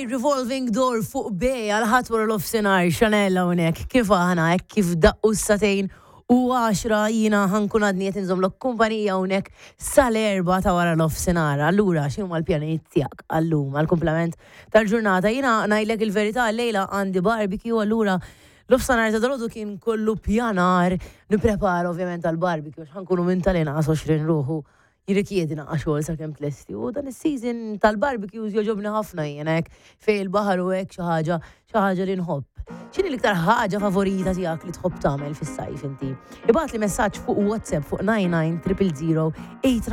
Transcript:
Revolving Door fuq B għal ħadd wara l-offsenar Chanel hawnhekk kif aħna hekk kif daqqu s-2:10 jiena ħankun għadni qed inżommlok kumpanija hawnhekk sal-4 ta' wara l-offsenar. Allura x'inhuma l-pjanijiet tiegħek għallum għall-kumplament tal-ġurnata? Jiena ngħidlek il-verità llejla għandi barbecue allura l-offsenar ta' dalgħodu kien kollu pjanar nipprepara ovvjament għall-barbecue għax ħankunu minn tal-inqas 20 ruħu jirrikjedi naqra xogħol sakemm tlesti u dan is-season tal-barbecues jogħġobni ħafna jiena hekk fejn il-baħar u hekk xi ħaġa xi ħaġa li nħobb. X'inhi l-iktar ħaġa favorita tiegħek li tħobb tagħmel fis-sajf inti? Ibgħatli messaġġ fuq WhatsApp fuq 99 000 8